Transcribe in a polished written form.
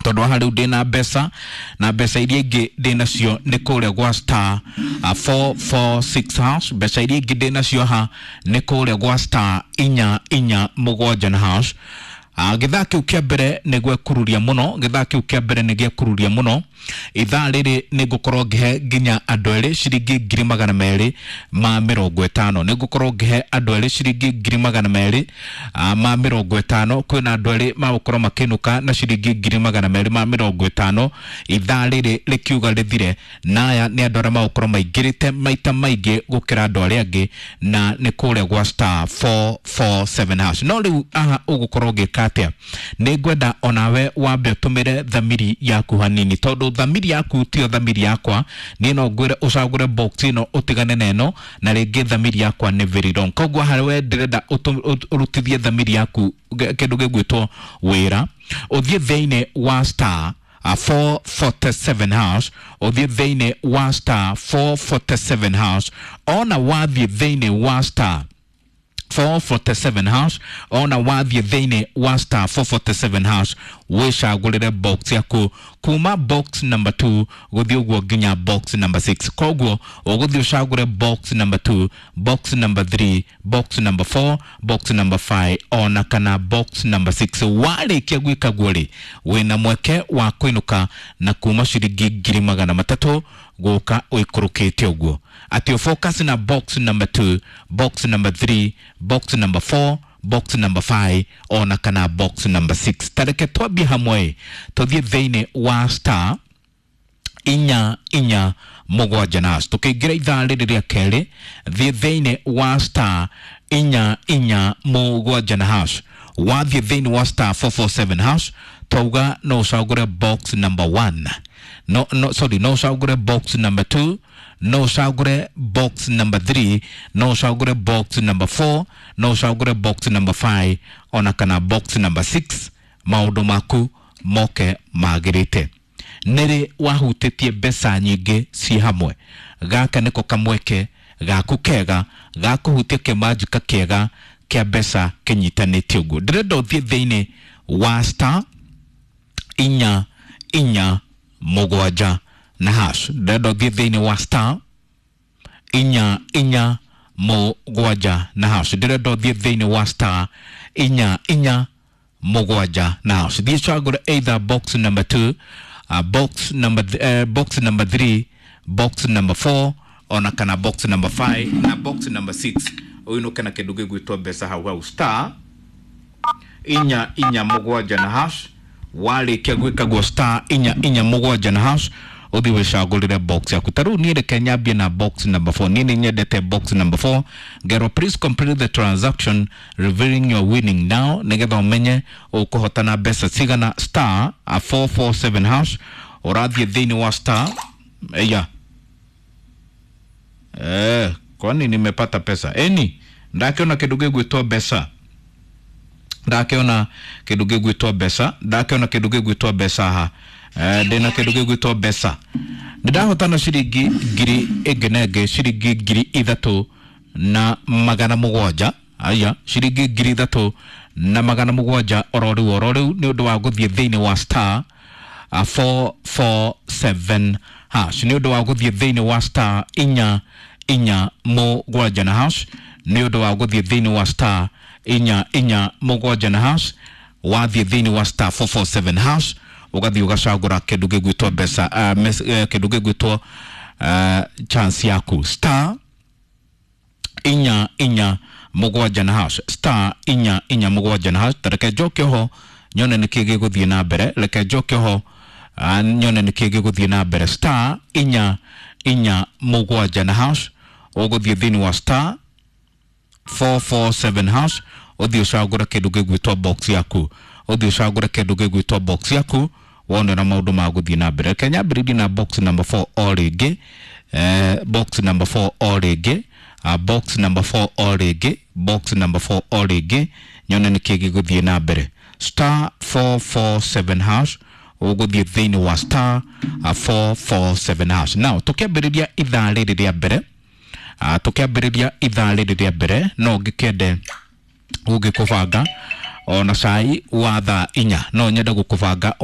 Tondu haha riu ndina mbeca, na mbeca iria ingĩ ndĩnacio nĩ kũrĩa gwa star 446 hash. Mbeca iria ingĩ ndĩnacio haha nĩ kũrĩa gwa star 447 na hash. Gĩthaa kĩu kĩa mbere nĩ gwekururia mũno, gĩthaa kĩu kĩa mbere nĩ gĩekururia mũno. Ithaa rĩrĩ nĩ ngũkorwo ngĩhe nginya andũ erĩ ciringi 250,000. Nĩ ngũkorwo ngĩhe andũ erĩ ciringi 250,000. Kwĩna andũ erĩ magũkorwo makĩinũka na ciringi 250,000 ithaa rĩrĩ rĩkiuga rĩthire, na aya nĩ andũ arĩa magũkorwo maingĩrĩte maita maingĩ gũkĩra andũ arĩa angĩ, na nĩ kũrĩa gwa star 447 hash. No rĩu aha ũgũkorwo ũgĩka atĩa? Nĩ ngwenda onawe wambe ũtũmĩre thamiri yaku hanini, tondũ thamiri yaku tiyo thamiri yakwa. Niĩ no ngwĩre ũcagũre box ĩno ũtigane na ĩno, na rĩngĩ thamiri yakwa nĩ very wrong. Koguo harĩ ndĩrenda ũrutithie thamiri yaku kĩndũ gĩgwĩtwo wĩra, ũthiĩ thĩinĩ wa star 447 hash, ũthiĩ thĩinĩ wa star 447 hash. Ona wathiĩ thĩinĩ wa star 447 hash, ona wathiĩ thĩinĩ wa star 447 hash, wĩcagũrĩre box yaku kuma box number 2 gũthiĩ ũguo nginya box number 6. Koguo ũgũthiĩ ũcagũre box number 2, box number 3, box number 4, box number 5 ona kana box number 6. Warĩkia gwĩka guo rĩ, wĩna mweke wa kũinũka na kuma ciringi 300,000 gũka ũikũrũkĩte ũguo. Atĩ ũ focus na box number 2, box number 3, box number 4, box number 5 ona kana box number 6. Tareke twambie hamwe, tũthiĩ thĩinĩ wa star 447 na hash. Tũkĩingĩra ithaa rĩrĩ rĩa kerĩ, thiĩ thĩinĩ wa star 447 na hash. Wathiĩ thĩinĩ wa star 447 hash, twauga no ũcagũre box number 1, no, no, sorry, no ũcagũre box number 2, no ũcagũre box number 3, no ũcagũre box number 4, no ũcagũre box number 5 ona kana box number 6. Maũndũ maku moke magĩrĩte. Nĩrĩ wahutĩtie mbeca nyingĩ ci hamwe? Gaka nĩko kamweke gaku kega ga kũhutia kĩmanjika kĩega kĩa mbeca kĩnyitanĩte ũguo. Ndĩrenda ũthiĩ thĩinĩ wa star 447 na hash. Ndĩrenda ũthiĩ thĩinĩ wa star 447 na hash. Ndĩrenda ũthiĩ thĩinĩ wa star 447 na hash. Thiĩ cagũre either box number 2, box number 3, box number 4 ona kana box number 5 na box number 6, ũinũke na kĩndũ gĩgwĩtwo mbeca hau hau. Star 447 na hash. Warĩkia gwĩka guo star 447 na hash, ũthiĩ wĩcagũrĩre box yaku. Ta rĩu niĩ reke nyambie na box number 4. Niĩ nĩ nyendete box number 4. Ngero please complete the transaction revealing your winning now, nĩgetha ũmenye ũkũhotana mbeca cigana. Star 447 hash, ũrathiĩ thĩinĩ wa star ya kwani nimepata pesa eni, ndakĩona kĩndũ gĩgwĩtwo mbeca, ndakĩona kĩndũ gĩgwĩtwo mbeca, ndakĩona kĩndũ gĩgwĩtwo mbeca haha. Ndĩna kĩndũ gĩgwĩtwo mbeca, nĩndahotana ciringi ngiri ĩngĩ na ĩngĩ, ciringi 3700. Aya, ciringi 3700 oro rĩu oro rĩu, nĩ ũndũ wa gũthiĩ thĩinĩ wa star 447 hash, nĩ ũndũ wa gũthiĩ thĩinĩ wa star 447 na hash, nĩ ũndũ wa gũthiĩ thĩinĩ wa star 447 na hash. Wathiĩ thĩinĩ wa star 447 hash, ũgathiĩ ũgacagũra kĩndũ gĩgwĩtwo mbeca, kĩndũ gĩgwĩtwo chance yaku. Star 447 na hash, star 447 na hash. Tareke njoke ho nyone nĩkĩ gĩgũthiĩ na mbere, reke njoke ho nyone nĩkĩ gĩgũthiĩ na mbere. Star 447 na hash, ũgũthiĩ thĩinĩ wa star 447 hash, ũthiĩ ũcagũre kĩndũ gĩgwĩtwo box yaku, ũthiĩ ũcagũre kĩndũ gĩgwĩtwo box yaku, wone na maũndũ ma gũthiĩ na mbere. Reke nyambĩrĩrie na box number 4 o rĩngĩ, box number 4 o rĩngĩ, box number 4 o rĩngĩ, box number 4 o rĩngĩ, nyone nĩkĩ gĩgũthiĩ na mbere. Star 447 hash, ũgũthiĩ thĩinĩ wa star 447 hash. Now tũkĩambĩrĩria ithaa rĩrĩ rĩa mbere, tũkĩambĩrĩria ithaa rĩrĩ rĩa mbere, no ngĩkende gũgĩkũbanga ona cai wa thaa 4, no nyende gũkũbanga.